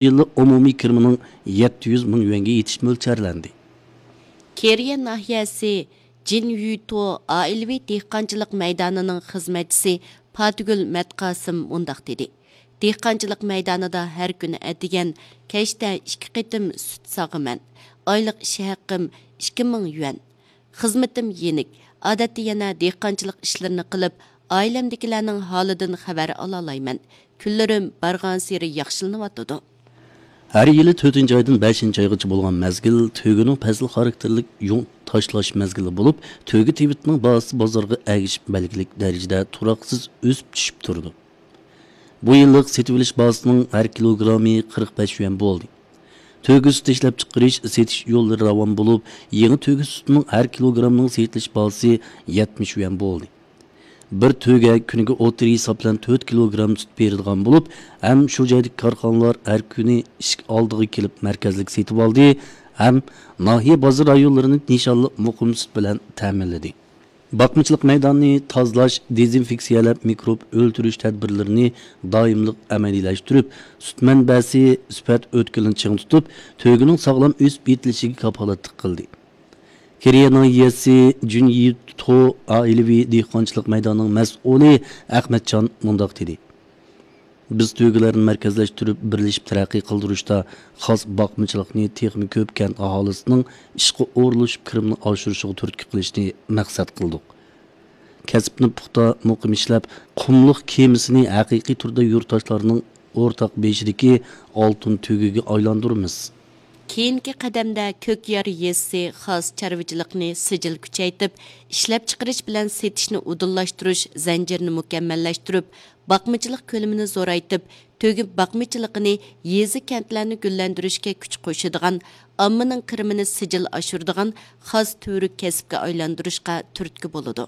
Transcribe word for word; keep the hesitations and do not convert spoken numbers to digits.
يىللىق ئومۇمىي كىرىمىنىڭ يەتتە يۈز مىڭ يۈەنگە يېتىشى مۆلچەرلەندى. كېرىيە ناھىيەسى جىنيۈتو ئائىلىۋى دېھقانچىلىق مەيدانىنىڭ خىزمەتچىسى پاتىگۈل مەتقاسىم مۇنداق دېدى: دېھقانچىلىق مەيدانىدا ھەر كۈنى ئەتىگەن، كەچتە ئىككى قېتىم سۈت ساغىمەن. ئايلىق ئىش ھەققىم ئىككى مىڭ يۈەن. خىزمىتىم يېنىك. ئادەتتە يەنە دېھقانچىلىق ئىشلىرىنى قىلىپ، ئائىلەمدىكىلەرنىڭ ھالىدىن خەۋەر ئالالايمەن. كۈنلىرىم بارغانسېرى ياخشىلىنىۋاتىدۇ. ھەر يىلى تۆتىنچى ئايدىن بەشىنچى ئايغىچە بولغان مەزگىل تۆگىنىڭ پەسىل خاراكتېرلىك يۇڭ تاشلاش مەزگىلى بولۇپ، تۆگە تېۋىتىنىڭ باھاسى بازارغا ئەگىشىپ بەلگىلىك دەرىجىدە تۇراقسىز ئۆسۈپ چۈشۈپ تۇرىدۇ. بۇ يىللىق سېتىۋېلىش باھاسىنىڭ ھەر كىلوگرامى قىرىق بەش يۈەن بولدى. تۆگە سۈتى ئىشلەپچىقىرىش، سېتىش يوللىرى راۋان بولۇپ، يېڭى تۆگە سۈتىنىڭ ھەر كىلوگرامنىڭ سېتىلىش باھاسى يەتمىش يۈەن بولدى. بىر تۆگە كۈنىگە ئوتتۇرا ھېساب بىلەن تۆت كىلوگرام سۈت بېرىدىغان بولۇپ، ھەم شۇ جايدىكى كارخانىلار ھەر كۈنى ئىشىك ئالدىغا كېلىپ مەركەزلىك سېتىۋالدى، ھەم ناھىيە بازار رايونلىرىنى نىشانلىق مۇقىم سۈت بىلەن تەمىنلىدى. باقمىچىلىق مەيدانىنى تازىلاش، دېزىنفېكسىيەلەپ، مىكروب ئۆلتۈرۈش تەدبىرلىرىنى دائىملىق ئەمەلىيلەشتۈرۈپ، سۈت مەنبەسى، سۈپەت ئۆتكىلىنى چىڭ تۇتۇپ، تۆگىنىڭ ساغلام ئۆسۈپ يېتىلىشىگە كاپالەتلىك قىلدى. كېرىيە ناھىيەسى جۈنيىتو ئائىلىۋى دېھقانچىلىق مەيدانىنىڭ مەسئۇلى ئەخمەتجان مۇنداق دېدى: بىز تۆگىلەرنى مەركەزلەشتۈرۈپ، بىرلىشىپ تەرەققىي قىلدۇرۇشتا خاس باقمىچىلىقنى تېخىمۇ كۆپ كەنت ئاھالىسىنىڭ ئىشقا ئورۇنلىشىپ، كىرىمىنى ئاشۇرۇشىغا تۈرتكە قىلىشنى مەقسەت قىلدۇق. كەسىپنى پۇختا، مۇقىم ئىشلەپ، قۇملۇق كېمىسىنى ھەقىقىي تۈردە يۇرتداشلارنىڭ ئورتاق بېشىدىكى ئالتۇن تۆگىگە ئايلاندۇرىمىز. كېيىنكى قەدەمدە كۆكيار يېزىسى خاس چارۋىچىلىقنى سىجىل كۈچەيتىپ، ئىشلەپچىقىرىش بىلەن سېتىشنى ئۇدۇللاشتۇرۇش زەنجىرىنى مۇكەممەللەشتۈرۈپ، باقمىچىلىق كۆلىمىنى زورايتىپ، تۆگە باقمىچىلىقىنى يېزا، كەنتلەرنى گۈللەندۈرۈشكە كۈچ قوشىدىغان، ئاممىنىڭ كىرىمىنى سىجىل ئاشۇرىدىغان خاس تۈۋرۈك كەسىپكە ئايلاندۇرۇشقا تۈرتكە بولىدۇ.